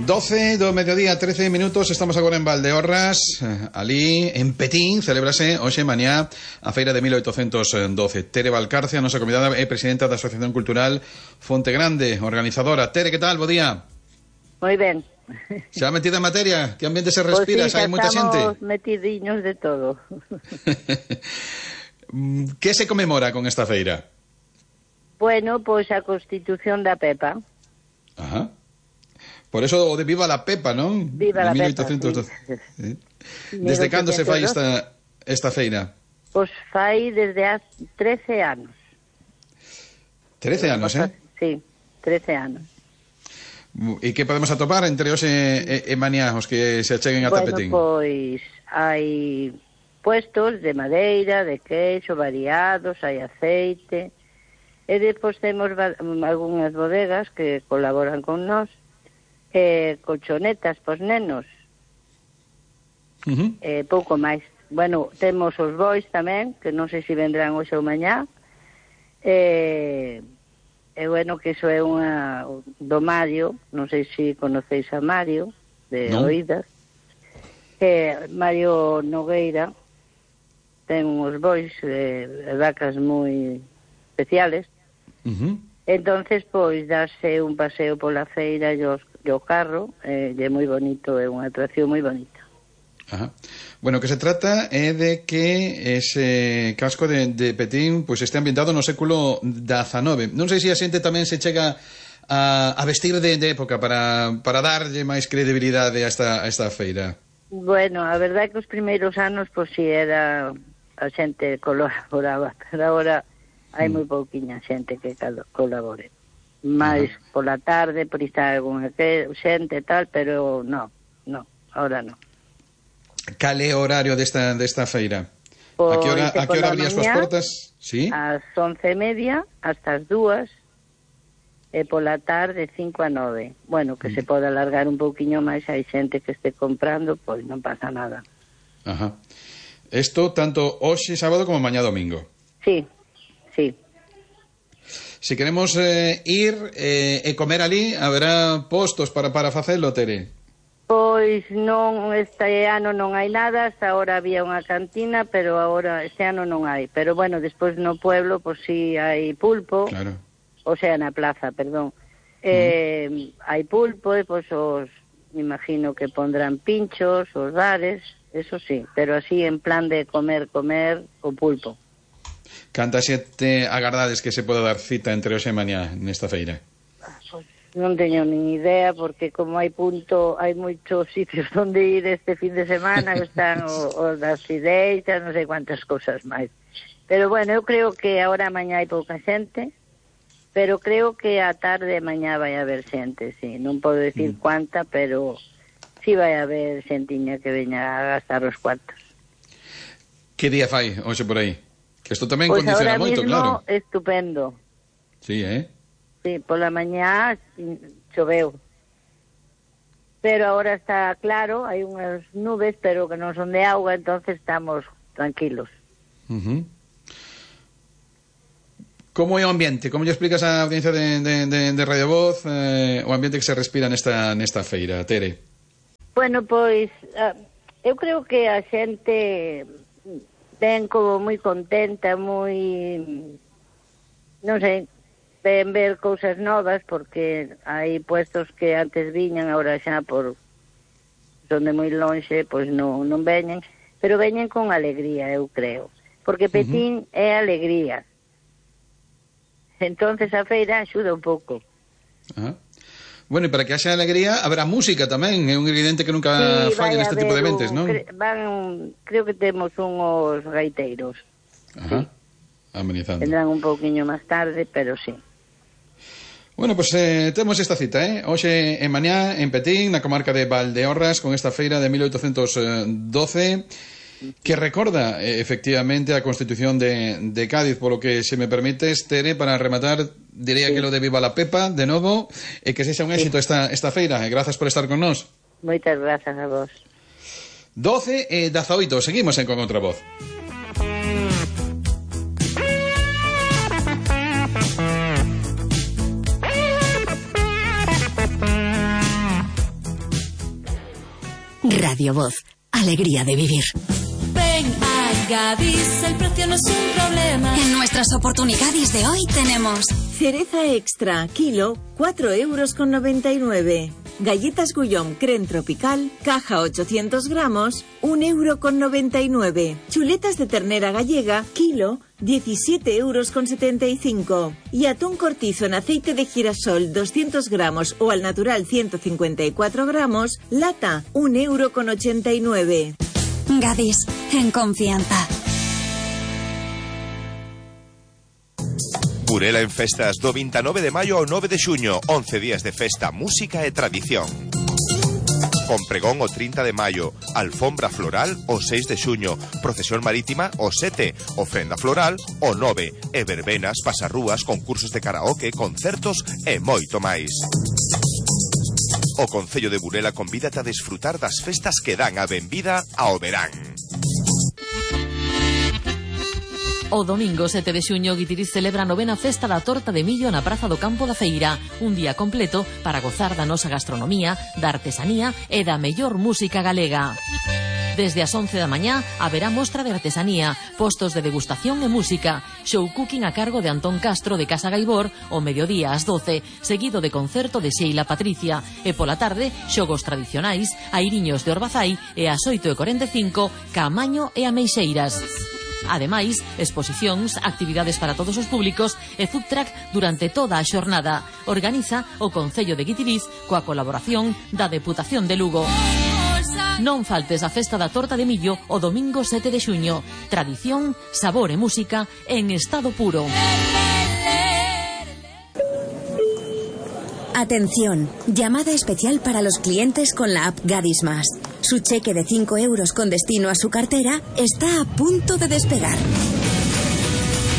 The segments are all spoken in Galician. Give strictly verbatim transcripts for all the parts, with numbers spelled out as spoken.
doce do mediodía, trece minutos. Estamos agora en Valdeorras, ali en Petín. Celébrase hoxe mañá a feira de mil oitocentos doce. Tere Valcarce, a nosa convidada, é presidenta da Asociación Cultural Fonte Grande, organizadora. Tere, que tal? Bo día. Moi ben. Xa metida en materia? Que ambiente se respira? Pois sí, xa hai moita xente? estamos metidiños de todo. Que se conmemora con esta feira? Bueno, pois a Constitución da Pepa. Ajá. Por eso o de Viva la Pepa, non? Viva la mil oitocentos doce. Pepa, sí. Desde cando se fai esta, esta feira? Pois fai desde há trece anos. trece anos, eh? Sí, trece anos. E que podemos atopar entre hoxe e, e mañá os que se acheguen a bueno, Tapetín? Bueno, pois hai puestos de madeira, de queixo, variados, hai aceite, e depois temos algunhas bodegas que colaboran con nós, eh, colchonetas pos nenos, uh-huh. eh, pouco máis. Bueno, temos os bois tamén, que non sei se vendrán hoxe ou mañá, e, e bueno, que iso é unha do Mario, non sei se conocéis a Mario, de no. oídas, que Mario Nogueira ten uns bois eh, vacas moi especiales, uh-huh. entonces pois darse un paseo pola feira e os o carro, eh, é moi bonito, é unha atracción moi bonita. Ajá. Bueno, o que se trata é de que ese casco de, de Petín pois este ambientado no século dezanove. Non sei se a xente tamén se chega a, a vestir de, de época para, para darlle máis credibilidade a esta, a esta feira. Bueno, a verdade é que os primeiros anos pois si era a xente colaboraba, pero agora hai moi pouquiña xente que colabore. Mais uh-huh. pola tarde, por estar algunha xente e tal, pero no, no, ahora no. Cal é o horario desta, desta feira? Pois, a que hora, a que hora abrí as túas portas? ¿Sí? Ás once e media, hasta as dúas, e pola tarde cinco a nove. Bueno, que mm. se pode alargar un pouquiño máis, hai xente que este comprando, pois non pasa nada. Ajá. Isto tanto hoxe sábado como mañá domingo. Sí, sí. Se queremos eh, ir eh, e comer ali, haberá postos para, para facelo, Tere? Pois non, este ano non hai nada, hasta ahora había unha cantina, pero agora este ano non hai. Pero bueno, despois no pueblo, pois si hai pulpo, claro. O sea, na plaza, perdón. Eh, mm. Hai pulpo e pois os, me imagino que pondrán pinchos, os bares, eso sí, pero así en plan de comer, comer o pulpo. Canta xente agardades que se pode dar cita entre hoxe e mañá nesta feira? Pois non teño nin idea, porque como hai punto, hai moitos sitios onde ir este fin de semana, que están os das fideitas, non sei cuántas cousas máis. Pero bueno, eu creo que agora mañá hai pouca xente, pero creo que a tarde mañá vai haber xente, sí. Non podo decir mm. cuánta, pero sí vai haber xentiña que veña a gastar os cuartos. Que día fai hoxe por aí? Que isto tamén pues condiciona moito, claro. Pois ahora mismo estupendo. Sí, eh? Sí, pola mañá choveu. Pero agora está claro, hai unhas nubes, pero que non son de auga, entonces estamos tranquilos. Uh-huh. Como é o ambiente? Como lle explicas á audiencia de, de, de, de Radio Voz eh, o ambiente que se respira nesta, nesta feira, Tere? Bueno, pois uh, eu creo que a xente ven como moi contenta, moi, non sei, ven ver cousas novas, porque hai puestos que antes viñan, agora xa por son de moi lonxe, pois non, non veñen, pero veñen con alegría, eu creo, porque Petín uh-huh. é alegría. Entonces a feira axuda un pouco. Ajá. Bueno, e para que haxa alegría haberá música tamén, é un ingrediente que nunca sí, falla neste tipo de eventos, non? Cre van, creo que temos unhos gaiteiros. Ajá, sí. Amenizando. Vendrán un pouquiño máis tarde, pero sí. Bueno, pois pues, eh, temos esta cita, eh? Hoxe en mañá en Petín, na comarca de Valdeorras, con esta feira de mil oitocentos doce, que recorda eh, efectivamente a Constitución de, de Cádiz, polo que, se me permites, Tere, para rematar, diría sí. que lo de Viva la Pepa, de novo, e que sexa un éxito sí. esta, esta feira. E grazas por estar con nós. Moitas grazas a vos. doce e dezaoito, seguimos en Con Outra Voz. Radio Voz, alegría de vivir. Ven a Gadis, el precio no es un problema. En nuestras oportunidades de hoy tenemos cereza extra, kilo, cuatro euros con noventa y nueve. Galletas Guillaume Creme Tropical, caja ochocientos gramos, un euro con noventa y nueve. Chuletas de ternera gallega, kilo, diecisiete euros con setenta y cinco. Y atún cortizo en aceite de girasol, doscientos gramos o al natural ciento cincuenta y cuatro gramos, lata, un euro con ochenta y nueve. Gadis, en confianza. Burela en festas do veintinueve de maio ao nove de xuño, once días de festa, música e tradición. Con pregón o trinta de maio, alfombra floral o seis de xuño, procesión marítima o sete, ofrenda floral o nove, e verbenas, pasarrúas, concursos de karaoke, concertos e moito máis. O Concello de Burela convídate a desfrutar das festas que dan a benvida ao verán. O domingo sete de xuño, Guitiriz celebra a novena festa da torta de millo na Praza do Campo da Feira. Un día completo para gozar da nosa gastronomía, da artesanía e da mellor música galega. Desde as once da mañá haberá mostra de artesanía, postos de degustación e música, show cooking a cargo de Antón Castro de Casa Gaibor, o mediodía ás doce, seguido de concerto de Sheila Patricia, e pola tarde, xogos tradicionais, airiños de Orbazai e ás oito e cuarenta e cinco, Caamaño e Ameixeiras. Ademais, exposicións, actividades para todos os públicos e food truck durante toda a xornada. Organiza o Concello de Guitiriz coa colaboración da Deputación de Lugo. Non faltes a festa da torta de millo o domingo sete de xuño. Tradición, sabor e música en estado puro. Atención, llamada especial para los clientes con la app Gadis Más. Su cheque de cinco euros con destino a su cartera está a punto de despegar.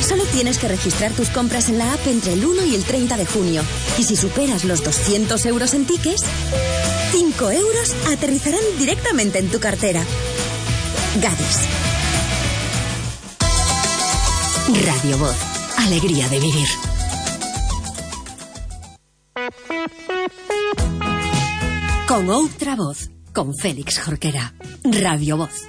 Solo tienes que registrar tus compras en la app entre el uno y el treinta de junio. Y si superas los doscientos euros en tickets, cinco euros aterrizarán directamente en tu cartera. Gadis. Radio Voz, alegría de vivir. Con outra voz, con Félix Jorquera. Radio Voz.